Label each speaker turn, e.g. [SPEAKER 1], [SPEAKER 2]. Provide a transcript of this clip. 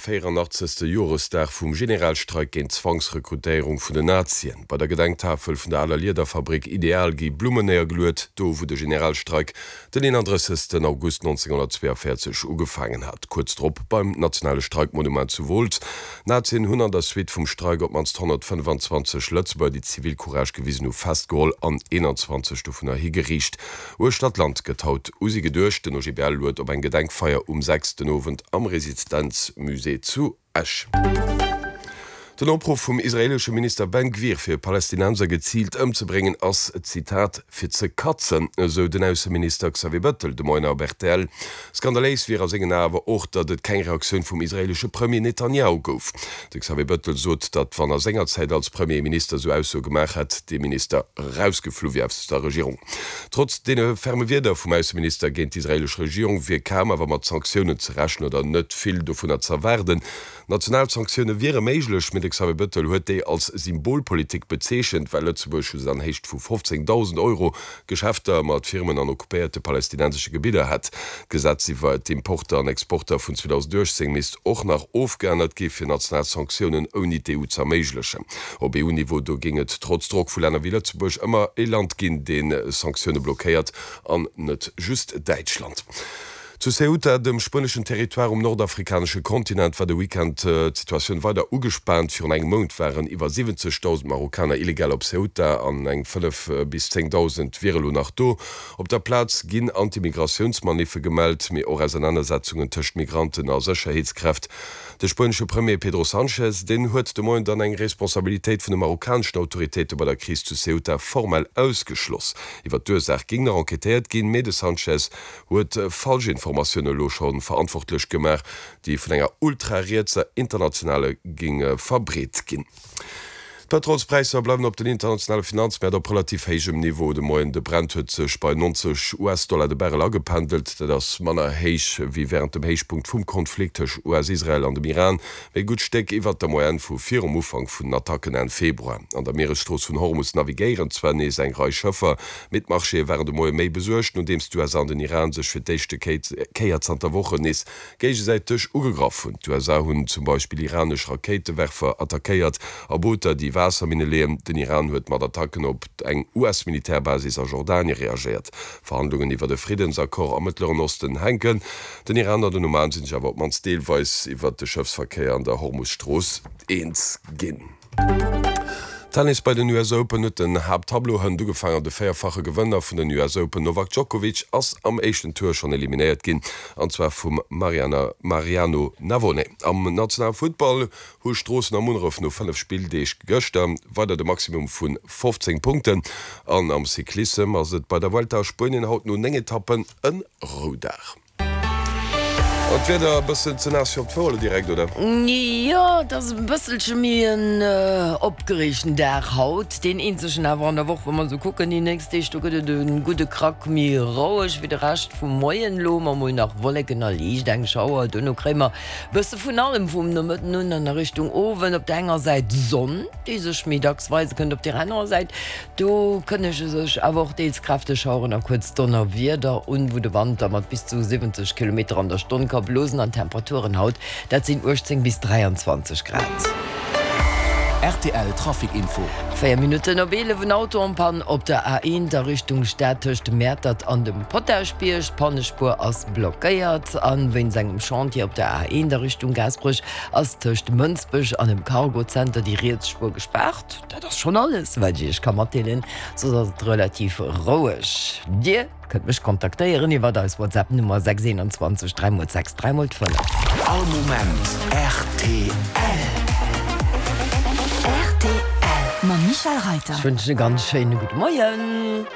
[SPEAKER 1] 84. Joresdag vum Generalstreik géint d'Zwangsrekrutéierung vun den Nazien. Bei der Gedenktafel vun der aler Liederfabrik Ideal gi Blummen néiergeluet, do wou de Generalstreik den 31. August 1942 ugefaangen hat. Kuerz drop beim nationale Streikmonument zu Wolz. D'Nazien hunn an der Suite vum Streik op d'mannst 125 Lëtzebuerger, déi Zivilcourage gewisen hu, festgeholl an 21 dovunner higeriicht. Uechter d'Land gëtt haut u si geduecht. Den OGBL luet op eng Gedenkfeier um 6 den Owend am Resistenzmusée zu Esch. Den Opruff vum israeelesche Minister Ben Gvir fir Palästinenser geziilt ëmzebréngen ass, Zitat, fir ze katzen, esou den Ausseminister Xavier Bettel de Moien op rtl. Skandaléis wier a sengen Ae awer och, datt et keng Reaktioun vum israeelesche Premier Netanjahu gouf. De Xavier Bettel sot, datt wann a senger Zäit als Premier ee Minister esou Aussoe gemaach hätt, dee Minister erausgeflu wier aus der Regierung. Trotz deene ferme Wierder vum Ausseminister géint d'israeelesch Regierung wier kaum awer mat Sanktiounen ze rechnen oder net vill dovunner z'erwaarden. National Sanktioune wiere méiglech, mee de Xavier Bettel huet déi als Symbolpolitik bezeechent, well Lëtzebuerg just an Héicht vu 15.000 Euro Geschäfter mat Firmen an occupéierte palästinensesche Gebidder hätt. D'Gesetz iwwer d'Importer an Exporter vun 2018 misst och nach ofgeännert gi fir national Sanktiounen ouni d'EU z'erméiglechen. Op EU-Niveau do géing et trotz Drock vu Länner wéi Lëtzebuerg ëmmer ee Land ginn, dee Sanktioune blockéiert, an net just Däitschland. Zu Ceuta, dem spueneschen Territoire um nordafrikanesche Kontinent, war de Weekend d'Situatioun weider ugespaant. Virun engem Mount waren iwwer 70.000 Marokkaner illegal op Ceuta an eng 5 bis 10.000 wiere lo nach do. Op der Plaz ginn Anti-Migratiounsmaniffe gemellt, mee och Ausernanersetzungen tëscht Migranten a Sécherheetskräft. De spuenesche Premier Pedro Sanchez, deen huet de Moien dann eng Responsabilitéit vun de marokkaneschen Autoritéite bei der Kris zu Ceuta formell ausgeschloss. Iwwer d'Ursaach géing nach enquêtéiert ginn, mee de Sanchez huet Falschinformatioune elo scho verantwortlech gemaach, déi vun enger ultrarietser Internationale géinge verbreet ginn. D'Pëtrolspräisser bleiwen op den internationale Finanzmäert op relativ héijem Niveau de Moien. De Brent huet sech bei 90 US-Dollar de Barrel agependelt. Dat ass manner héich wéi wärend dem Héichpunkt vum Konflikt tëscht US-Israel an dem Iran, mee e gutt Stéck iwwert der Moyenne vu virum Ufank vun den Attacken Enn Februar. An der Mieresstrooss vun Hormus navigéieren zwar nees eng Rei Schëffer, mee d'Marchéë waren de Moie méi besuergt, nodeems d'USA an den Iran sech fir d'éischte Kéier zanter Wochen nees géigesäiteg ugegraff hunn. D'USA hunn zum Beispill iranesch Rakéitewerfer attackéiert a Booter, déi Waasserminne leeën. Den Iran huet mat Attacken op eng US-Militärbasis a Jordanie reagéiert. Verhandlungen iwwert e Friddensaccord am Mëttleren Osten hänken. Den Iran an den Oman sinn sech awer op d'mannst deelweis iwwert de Schëffsverkéier an der Hormus-Strooss eens ginn. Tennis Bei den US Open huet den Haapttableau hënt ugefaangen an de véierfache Gewënner vun den US Open Novak Djokovic ass am éischten Tour schonn eliminéiert ginn an zwar vum Mariano Navone. Am nationale Futtball hu Stroossen a Munneref no 5 Spilldeeg gëschter weider de Maximum vu 15 Punkten an am Cyclissem ass et bei der Vuelta a Spuenien haut no 9 Etappen e Roudag. An d'Wieder e bëssen ze naass fir op d'Fouer direkt, oder?
[SPEAKER 2] Jo, et ass e bësselche méi en opgereegten Dag haut, deen eenzegen awer an der Woch. Wa mer esou kucken déi nächst Deeg, do gëtt et e gudde Krack méi roueg wéi de Rescht vum Moien. Elo hu mer mol nach Wolleken a liicht eng Schauer, duerno kréie mer e bësse vun allem vum Nomëtten un an a Richtung Owend. Op der enger Säit d'Sonn, déi sech méi dacks weise kënnt, op der anerer Säit Do kënnege sech awer och deels kräfteg Schaueren a kuerz Donnerwieder un, wou de Wand da mat bis zu 70 Kilometer an der Stonn ka blosen. An d'Temperaturen haut, dat sinn 18 bis 23 Grad.
[SPEAKER 3] Rtl Trafic Info.
[SPEAKER 2] 4 Minutten op 11, En Auto en Panne op der A1 a Richtung Stad tëscht Mäertert an dem Potaschbierg. D'Pannespuer ass blockéiert. A wéinst engem Chantier op der A1 a Richtung Gaasperech ass tëscht Mënsbech an dem Cargozenter déi riets Spuer gespaart. Dat ass schonn alles, wat ech iech ka matdeelen. Soss ass et relativ roueg. Dir kënnt mech kontaktéieren iwwert eis WhatsApp Nummer 6 21 3 x 6 3 x 5.
[SPEAKER 3] All Moment rtl.
[SPEAKER 4] Rtl mam Michèle Reiter.
[SPEAKER 2] Ech wënschen e ganz schéine gudde Moien.